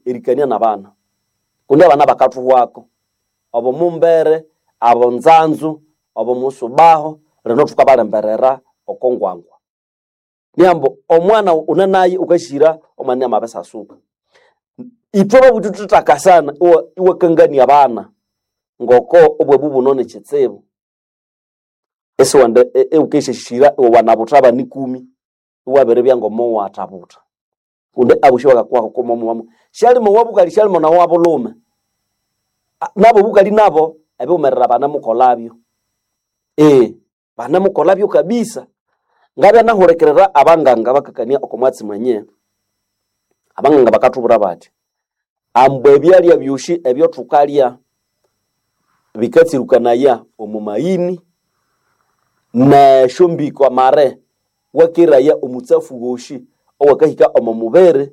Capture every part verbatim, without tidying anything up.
erikania nabana kundi abana bakathuhwako obo mumbere abo nzanzu obo musubaho rino thukabalemberera oko ngwangwa niambo omwana unanaye ukashira omwana amabesasuka ithwe babuthi thuthakasana iwa- iwakangania abana ngoko obwabu buno ni kitsibu esiwende iwukesheshira iwe wanabutha abana ikumi iwabiribya ngomo wathabutha kundi abosi bakakuhako komomuwamu syalimo wabukali syalimo nawo wabulhume A- nabo obukali nabo ebiwumerera banamukolabyo ee banamukolabyo kabisa ngabya nahulikirira abanganga bakakania oko mwatsi mwenye abanganga bakathubwira bathi ambu ebyalya byosi ebyothukalya bikatsirukanaya omu mayini nesyombiko amare wakeraya omutsafu wosi owakahika omo mubiri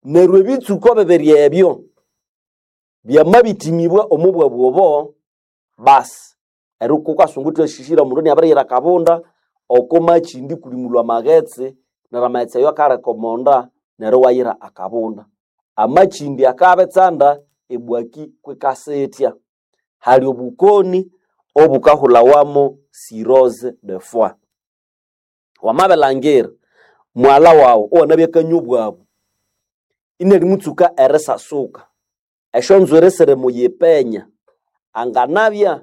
neryo ebitsuko bibiri ebyo byamabitimibwa omu bwabu obo basi eryo kukasungu thwashishira omundu iniabiriyira akabunda oko makindi kulimulwa amaghetse neryo amaghetse ayo akaleka omonda neryo iwayira akabunda amakindi akabitsanda ebwaki kwikasithya hali obukoni obukahulhawamo cirrhose de foie wamabilhangira mwalha waghu owanabya akanywa obwabu inalimutsuka erisasuka esyonzwiri sirimuyipenya anganabya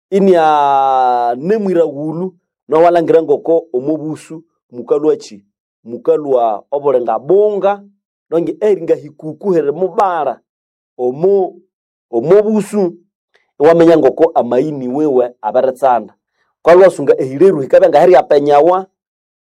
inianemwiraghulhu nowalhangira ngoko omobusu mukalhwaki mukalhwa obulinga bunga nonge eringa hikuku hirimubalha omo omobusu iwaminya ngoko amayini wiwe abiritsanda kwalwasunga ehireru hikabya ngahiryapenyawa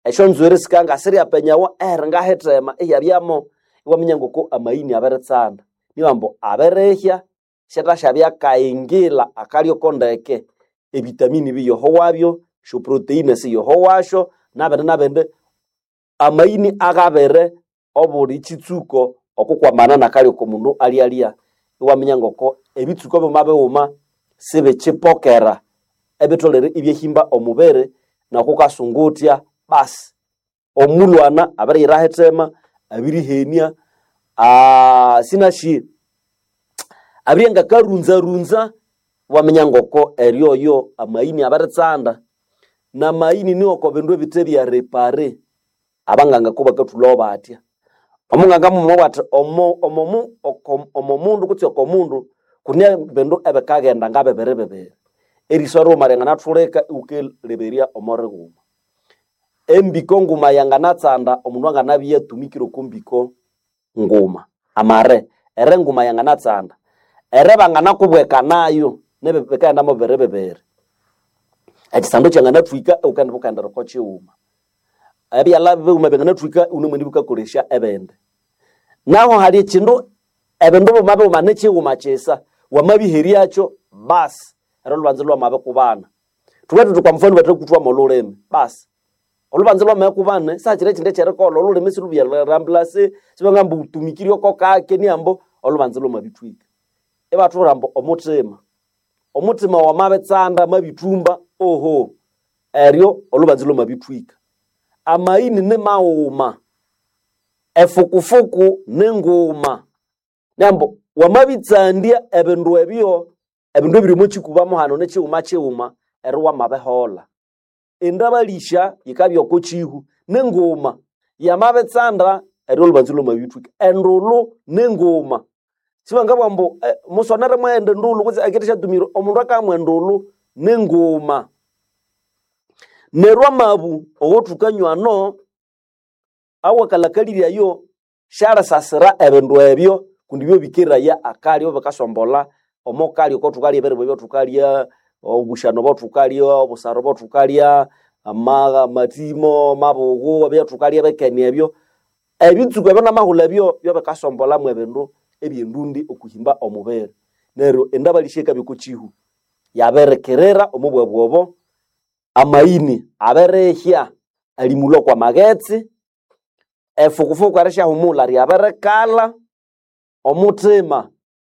esyonzwiri sikabya ngasiryapenyawa ehiringahithema iyabyamo iwaminya ngoko amayini abiritsanda niwambu abirihya syathasyabya kayingila akalyoko ndeke ebitamini biyohowabyo esyoproteini siyohowasyo nabindi nabindi amayini agabere obuli kitsuko okukwamana nakalyo omundu alyalya iwaminya ngoko ebitsuko byuma bighuma sibikyipokera ebitholere ibyahimba omubiri nokukasunguthya basi omulwana abiriyira hithema abirihenia aa sinasi abirya ngakarunzarunza waminya ngoko eryoyo amayini abiritsanda namayini niwoko bindu ebithe bya repare abanganga kubakathulhawo batya omunganga mumwe bwati omo omomu oko- omomundu kutse okomundu kune bindu ebikaghenda ngabibiri bibiri eriswa righuma ryanganathulika iwukaleberya omo righuma embiko nguma yanganatsanda omundu anganabya iyatumikire oko mbiko nguma amare ere nguma yanganatsanda ere banganakubweka nayo nibi bikaghenda mo bibiri bibiri ekisando kyanganathwika iwukaghenda bukaghendera oko kighuma ebyalha bighuma byanganathwika iwunemwendi bukakolesya ebindi naho hali ekindu ebindu bighuma bighuma nikighuma kisa wamabiheryakyo basi ero olhubanza lwamabikubana thubwere thuthi kwa mufano bathakuthwamo olhulimi basi olhubanza lwamabikubana sahakiri ekindi ekyerikolha olhulimi silhubyalirambulasi sibangamba wutumikirye oko kake niambo olhubanza lwamabithwika ibathubwira ambu omuthima omuthima wamabitsanda amabithumba oho eryo olhubanza lwamabithwika amayini nimaghuma efukufuku ninguma nambo wamabitsandya ebindu ebyo ebindu ebiri omo kikuba hano nikighuma kighuma eri wamabiholha endabalisha yikabya oko kihu ninguma yamabitsanda eri olubanza lwamabithwika endulu ninguma sibangabugha ambu eh, musonere mwaghenda endulu kutse akithe syatumire omundu akamwa endulu ninguma neryo amabu owothukanywa ano awakalhakaliryayo syalisasira ebindu ebyo kundi byo bikeraya akalyo bikasombolha omo kalyo kothukalya ebiribwa ebyothukalya obushano obwathukalya obusara obwathukalya ama- amathimo amabughu ebyathukalya ebikeni ebyo ebitsuku ebyo namahulhu ebyo byobikasombolhamu ebindu ebyendundi okuhimba omubiri neryo endabalisya yikabya oko kihu yabirikirira omo bwabu obo amayini abirihya alimulwa kwa maghetse efukufuku erisyahumulha ryabirikalha omuthima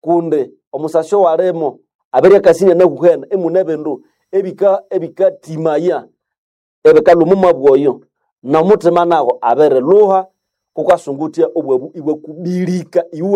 kundi omusasi owalimo abirya akasi inahuhene imune ebindu ebika ebikathimaya ebikalhwa omo mwabu oyo nomuthima nago abirilhuha kukasunguthya obwabu ibwakubilika iwe